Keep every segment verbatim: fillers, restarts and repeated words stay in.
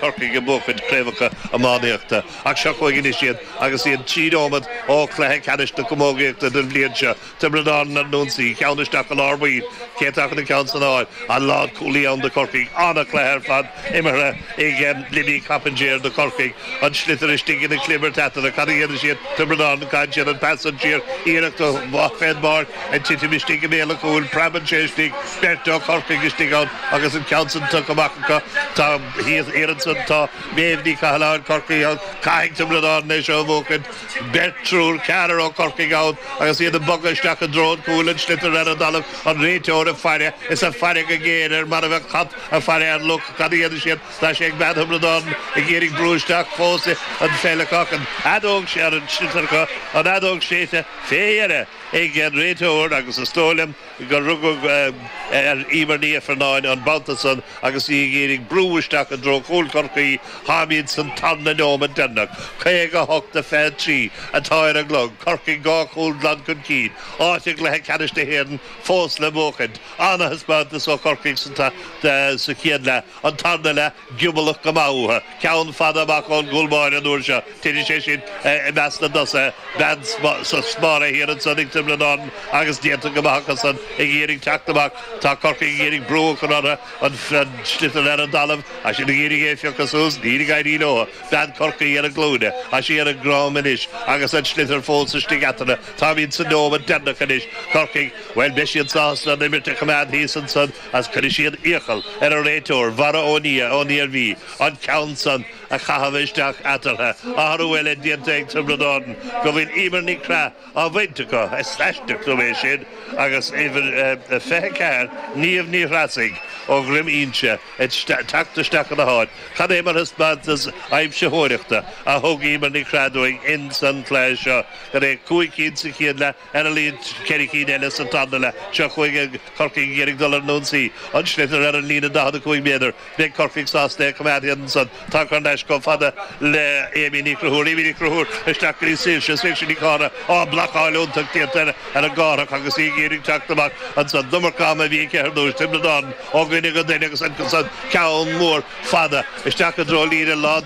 Corcaigh ag buachaint craobhacha iománaíochta ach seo chugainn anois iad agus iad trí nóiméad ó chluiche ceannais na camógaíochta don bhliain seo. Tiobraid Árann ar an ionsaí, ceann isteach i lár baill, cé atá chun an ceann san a fháil? An lánchúlaí ann do Chorcaigh. An-chluiche ar fad imeartha ag Libby Coppinger do Chorcaigh. An sliotar istigh ina chlibirt eatarthu. Cad a dhéanfaidh siad? Tiobraid Árann, caitheann siad an pas san siar, iarracht amach fén bpáirc, ag titim istigh i mbéal an chúil, preabann sé istigh, beirt ó Chorcaigh istigh ann agus an ceann san tugtha amach acu. Tá thíos thiar ansan, tá Méabh Ní Chathalláin, Corcaigh ann, caithfidh Tiobraid Árann é seo a bhuachaint. Beirt, triúr, ceathrar ó Chorcaigh ann agus iad ag bogadh isteach i dtreo an chúil, an sliotar ar an dtalamh, an réiteoir ag faire, is ag faire go géar air mar a bheadh cat ag faire ar luch. Cad a dhéanfaidh siad? Tá sé ag bean Thiobraid Árann ag iarraidh brú isteach fós an pheil acu, an fheadóg ar an sliotar acu, an fheadóg séidte fé dheireadh ag an réiteoir agus is dóigh liom gur rugadh ar Emer Ní Ifearnáin an babhta san agus í ag iarraidh brú isteach i dtreo chúl Chorcaí. Táimid san tarna nóiméad deireanach, caoga a hocht a fiche a trí atá ar an gclog, Corcaigh dhá chúl glan chun cinn, áit i gcluiche ceannais na hÉireann fós le buachaint. Ana-thaispeántas ó Chorcaigh sa chéad leath, an tarna leath giobalach go maith uathu. Ceann fada amach ón gcúl báire an uair seo, titeann sé sin i measc na dtosaithe, bean sa smára thiar ansan ag Tiobraid Árann agus déanta go maith acu san ag iarraidh teacht amach. Tá Corcaigh ag iarraidh brú a chur orthu, an sliotar ar an dtalamh, tá siad ag iarraidh é a phiocadh suas, níl ag éirí leo. Bean Chorcaí ar a glúine, tá sí ar a droim anois agus an sliotar fós istigh eatarthu. Táimid sa nóiméad deireanach anois. Corcaigh, bhuel, beidh siad sásta an imirt a choimeád thíos ansan agus cuirfidh siad iachall ar an réiteoir, Mhara O'Nia ón Iarmhí, an ceann san a chaitheamh isteach eatarthu. Athrú eile déanta ag Tiobraid Árann go bhfuil Emer Ní Chreath á bhaint acu, is aisteach liom é sin, agus uimhir fiche a ceathair, Niamh Ní Threasaigh ó Dhroim Inse ag teacht isteach ina háit. Cad é mar thaispeántas aimsitheoireachta a thug Emer Ní Chreath dúinn ins an chluiche seo. Cad é, cúig cinn sa chéad leath, ar a laghad ceithre cinn eile sa tarna leath. Seo chugainn Corcaigh ag iarraidh dul ar an ionsaí. An sliotar ar an líne daichead a cúig méadar. Beidh Corcaigh sásta é a choimeád thíos ansan. Tá thar n-ais chomh fada le Amy Ní Chonchúir. Amy Ní Chonchúir isteach go dtí Saoirse. Saoirse Nic Cártha. Á, blocáil iontach déanta ar an gCárthach agus í ag iarraidh teacht amach ansan. An iomarca ama a bhí aici ar dtús. Tiobraid Árann ó dhuine go duine agus ansan ceann mór fada isteach i dtreo líne lán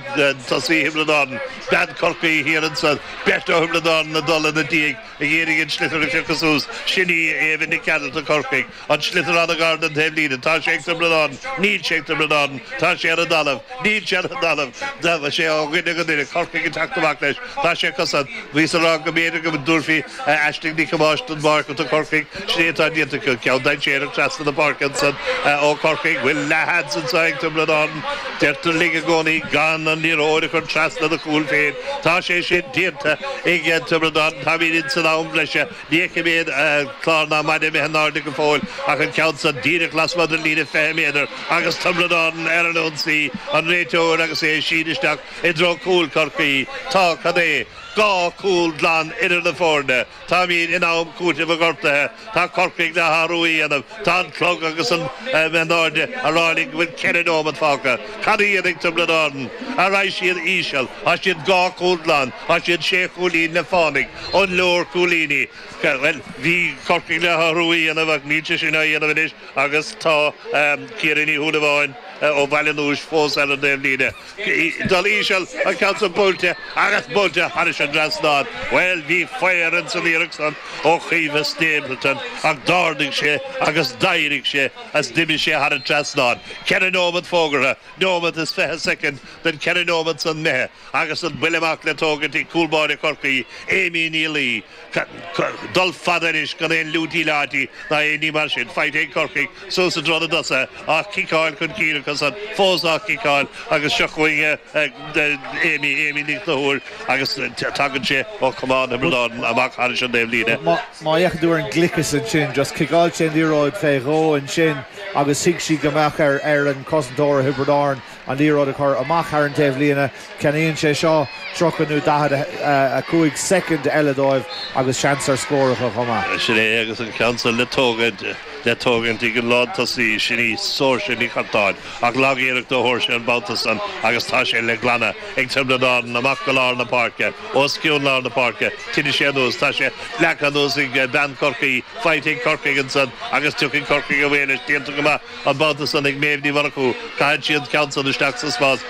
tosaí Thiobraid Árann. Bean Chorcaí thiar ansan. Beirt ó Thiobraid Árann ag dul ina diaidh ag iarraidh an sliotar a phiocadh suas. Sin í Éabha Nic Gearailt do Chorcaigh. An sliotar an-ghar don taobhlíne. Tá sé ag Tiobraid Árann. Níl sé ag Tiobraid Árann. Tá sé ar an dtalamh. Níl sé ar an dtalamh. Tá sé ó dhuine go duine. Corcaigh ag teacht amach leis. Tá sé acusan. Bhíos ag rá go mb'fhéidir go dtabharfaí Aisling Nic Thomáis don bpáirc do Chorcaigh. Sin é atá déanta acu. Ceann dainséarach trasna na páirce ansan ó Chorcaigh. Bhfuil leathsheans anseo ag Tiobraid Árann? Deirtear linn i gcónaí gan an liathróid a chur trasna do chúil féin. Tá sé sin déanta ag Tiobraid Árann. Táimid ins an am bhreise. Ní fheicim aon chlár ná maide imithe in airde go fóill ach an ceann san díreach lasmuigh den líne fiche méadar agus Tiobraid Árann ar an ionsaí, an réiteoir agus é ag síneadh isteach i dtreo cúl Chorcaí. Tá, cad é, dhá chúl glan idir na foirne. Táimid in am cúitimh an ghortaithe. Tá Corcaigh le hathrú a dhéanamh. Tá an clog agus an in airde ag rá linn go bhfuil ceithre nóiméad fágtha. Cad a dhéanfaidh Tiobraid Árann? An raghaidh siad íseal? Tá siad dhá chúl glan. Tá siad sé chúilín le fánaidh. An leor cúilíní? Bhuel, bhí Corcaigh le hathrú a dhéanamh ach níl sé sin á dhéanamh anois agus tá Ciara Ní Shúilleabháin ó Bhaile an Euis fós ar an dtaobhlíne. Dul íseal, an ceann san buailte agus buailte thairis an dtrasnán. Bhuel, bhí faobhar ins an iarracht san ó Chaoimhe Stapleton ach d'ardaigh sé agus d'éirigh sé is d'imigh sé thar an trasnán. Ceithre nóiméad fógartha, nóiméad is fiche soicind den cheithre nóiméad san imithe agus an buille amach le tógaint ag cúl báire Chorcaí, Amy Ní Laoi. Dul fada anois gan aon liúití leáití ná aon ní mar sin. Faighte ag Corcaigh suas i dtreo na dtosaithe, á ciceáil chun cinn acu san, fós á ciceáil agus seo chugainn Amy, Amy Ní Chonchúir agus tagann sé ó chamán Thiobraid Árann amach thairis an dtaobhlíne. Má fhéachann tú ar an ngliceas ansin, just ciceáil sé an liathróid fé dhó ansin agus thuig sí go mbeadh ar an cosantóir Thiobraid Árann an liathróid a chur amach thar an taobhlíne. Ceannaíonn sé seo tríocha nó daichead a cúig soicind eile dóibh agus seans ar scór acu chomh maith. Sin é agus an ceann san le tógaint. Le tógaint ag an lántosaí sin í Saoirse Ní Chartáin ach lagiarracht ó Shaoirse an babhta san agus tá sé le glanadh ag Tiobraid Árann amach go lár na páirce os cionn lár na páirce Tinne sé anuas tá sé leagtha anuas ag bean Chorcaí faighte ag Corcaigh ansan agus tiocfaidh Corcaigh away leis déanta go maith an babhta san ag Méabh Ní Mhurchú caitheann siad ceann san isteach sa spás